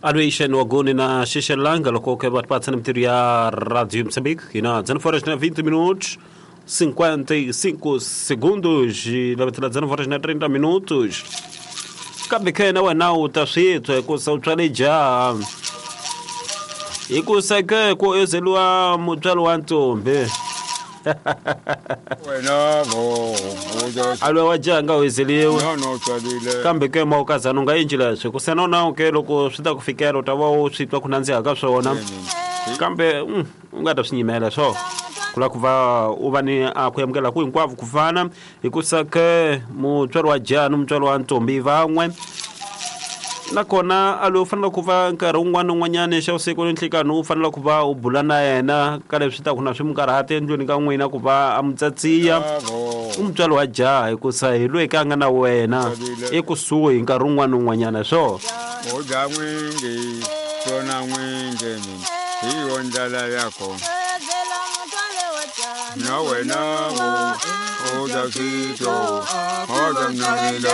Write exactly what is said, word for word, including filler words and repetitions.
Aluishen waguni na Xixelanga loko ke va patsa na mintirho ya Radio Moçambique ina dezenove horas na vinte minutos cinquenta e cinco segundos e la dezenove horas na trinta minutos. Kambe ke na wena u ta swi twa hikusa u tswale jaha hikusa ke ku ezeliwa mutswari wa ntombi wena vo alwe wa jaha nga wezeliwe no no tswalile kambe ke mawukazana u nga endli leswi hikusa na wona ke loko swi ta ku fikela u ta va u swi twa ku nandziha ka swona kambe u nga ta swi nyimela swo ku lava ku va u va ni a ku amukela ku hinkwavo ku fana hikusa ke mutswari wa jaha ni mutswari wa ntombi van'we nakona a loyi u fanele ku va nkarhi wun'wana na wun'wanyana xa vusiku ni nhlikani u fanele ku va u bula na yena ka leswi ta ku na swi mu karhata endlwini ka n'wina ku va a mu tsatsiya u mutswari wa jaha hikusa hi loyi ka a nga na wena ekusuhi nkarhi wun'wana na wun'wanyana swo u dya n'wingi swona n'wingi mina hi yo ndlela ya kona na wena vo u dya switlo u dya mnamile.